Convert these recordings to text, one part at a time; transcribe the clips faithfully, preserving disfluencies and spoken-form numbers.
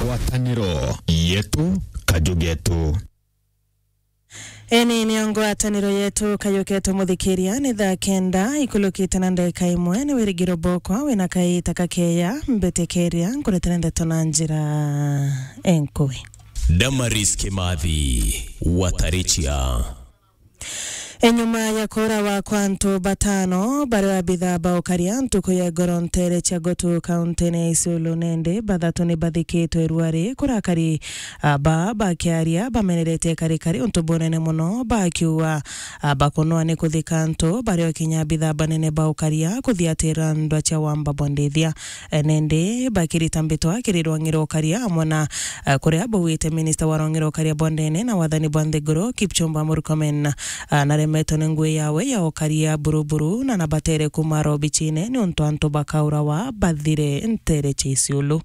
Ngwataniro yetu, kaju getu. Eni nio ngwataniro yetu, kaju getu muthikiria, ni thaa kenda ikulukite na ndagika imwe. Ni wirigiro bokwa wina kaita kakeya, mbitikiria nkuretera ndeto na njira enkui. Damaris Kimathi, Watarichia. Enyuma ya kuurawa kwa antu batano baria abitha ba ukaria ntuku ya igoro nteere cia Gutu, kauntine ya Isiolo, nende bathatu ni bathikitwe ruari, kurakari aba bakiaria bameneretie karikari untu bunene mono, bakiuga bakunwa ni kuthika antu baria o kinya abitha banene ba ukaria kuthiatira ndwa cia wamba bwa ndithia. Eh, nende bakirita mbitwa kiri rwang'i rwa ukaria amwe na, eh, kuria bauite minista wa rwang'i rwa ukaria bwa ndene na wathani bwa nthiguru, Kipchumba Murkomen, ah, naremetwe ni ngui yawe ya ukaria buruburu na nabatere kuuma robichine niuntu antu bakaurawa bathire nteere cia Isiolo.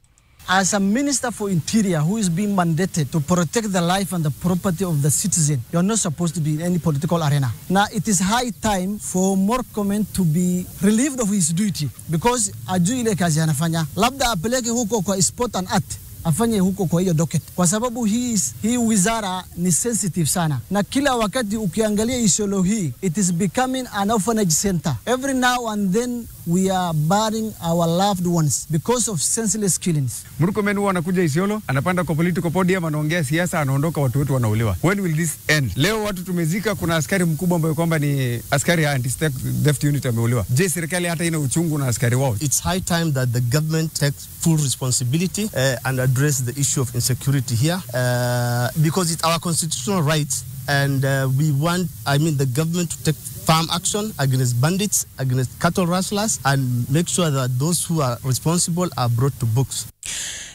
As a minister for interior who is being mandated to protect the life and the property of the citizen, you are not supposed to be in any political arena. Now it is high time for Murkomen to be relieved of his duty. Because ajui ile kazi anafanya. Labda apeleke huko kwa sport and art, afanye huko kwa hiyo docket, kwa sababu hii is, hii wizara ni sensitive sana, na kila wakati ukiangalia Isiolo hii, it is becoming an orphanage center. Every now and then we are burying our loved ones because of senseless killings. Murkomen huwa anakuja Isiolo, anapanda kwa political podium, anaongea siasa, anaondoka, watu wetu wanauliwa. When will this end? Leo watu tumezika, kuna askari mkubwa ambaye kwamba ni askari ya anti-theft unit ameuliwa. Je, serikali hata ina uchungu na askari wao? It's high time that the government takes full responsibility, uh, and address the issue of insecurity here, uh, because it's our constitutional rights, and, uh, we want, I mean, the government to take firm action against bandits, against cattle rustlers, and make sure that those who are responsible are brought to books.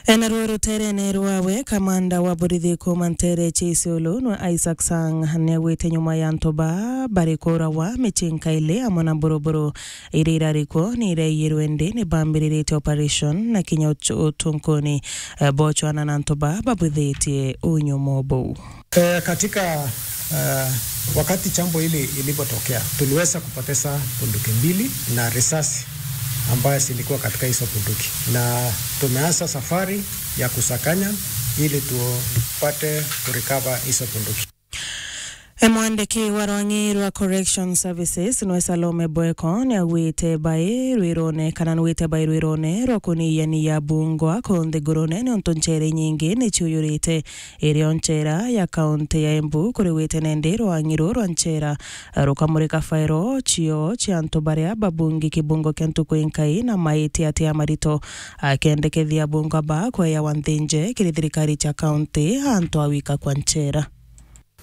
Enaruo ruterene rwawe, kamanda wa borithi kuuma nteere cia Isiolo nwe Isaac Sang niaugite nyuma ya antu ba bari kuurawa, micinka ili amwe na mburuburu iria irari kuo ni iraiyirwe, ndi ni bambiriritie operation na kinya utu-, utunkuni, eh, bochwana na antu ba babwithitie unyumo buu. Eh, katika, eh, wakati jambo hili ilipotokea, tuliweza kupoteza bunduki mbili na risasi ambayo zilikuwa katika hizo bunduki, na tumeanza safari ya kusakanya ili tupate kurecover hizo bunduki. E, mwandiki wa rwang'i rwa Correction Services nwe Salome Bweko niaugite bai rwirone, kana nugite bai rwirone rwa kuniyania bungwa ku nthigurune, niuntu nchere nyingi ni ciuyurite irio nchera ya kaunti ya Embu kuri wite nende rwang'i ruu rwa nchera rukamurika fairo cio cia antu baria babungi kibungo kia ntuku inkai na maiti atia marito, akendekethia bungwa ba kweyawa nthinje kiri thirikari cia kaunti antu awika kwa nchera.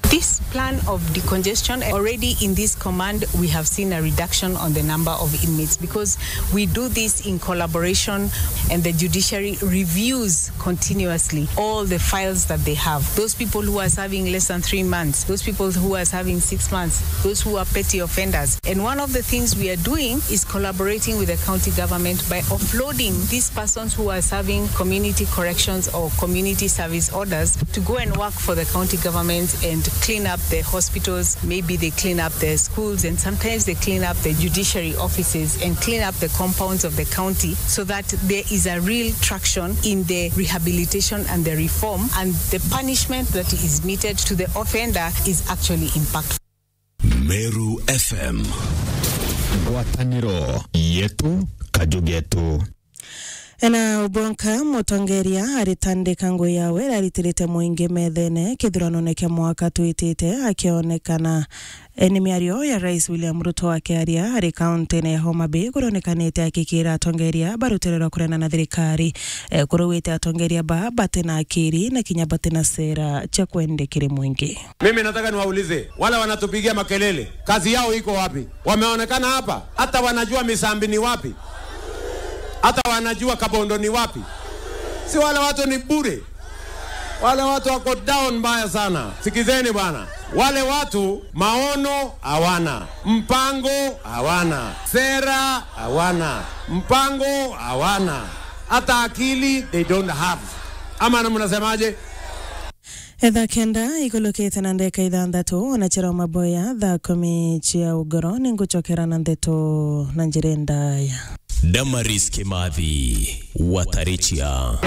This plan of decongestion, already in this command, we have seen a reduction on the number of inmates because we do this in collaboration and the judiciary reviews continuously all the files that they have. Those people who are serving less than three months, those people who are serving six months, those who are petty offenders. And one of the things we are doing is collaborating with the county government by offloading these persons who are serving community corrections or community service orders to go and work for the county government and clean up the hospitals. Maybe they clean up the schools, and sometimes they clean up the judiciary offices and clean up the compounds of the county, so that there is a real traction in the rehabilitation and the reform, and the punishment that is meted to the offender is actually impactful. Meru F M. Ngwataniro yetu, kaju getu. Ena ubonka mutongeria aritandika ngui yawe iraritirite mwingi methene kithuranone kia mwaka twitite, akionekana. E, ni miario ya Rais William Ruto akiaria ari kauntine ya Homa Bay, kurionekanite akikira atongeria ba rutere rwa kurena na thirikari. E, kuruwite atongeria ba batina akiri na kinya batina sera cia kwende kiri mwingi. Mimi nataka niwaulize wale wanatupigia makelele, kazi yao iko wapi? Wameonekana hapa? Hata wanajua Misambi ni wapi? Hata wanajua Kabondo ni wapi? Si wale watu ni bure. Wale watu wako down mbaya sana. Sikizeni bwana. Wale watu maono hawana, mpango hawana, sera hawana, mpango hawana, hata akili they don't have. Ama na mnasemaje? Etha kenda ikulukite na ndeka ithanthatu, ona chira maboya thaa kumi cia ugoro, ninguchokera na ndeto na njira ndaya. Damaris Kimathi, Watarichia.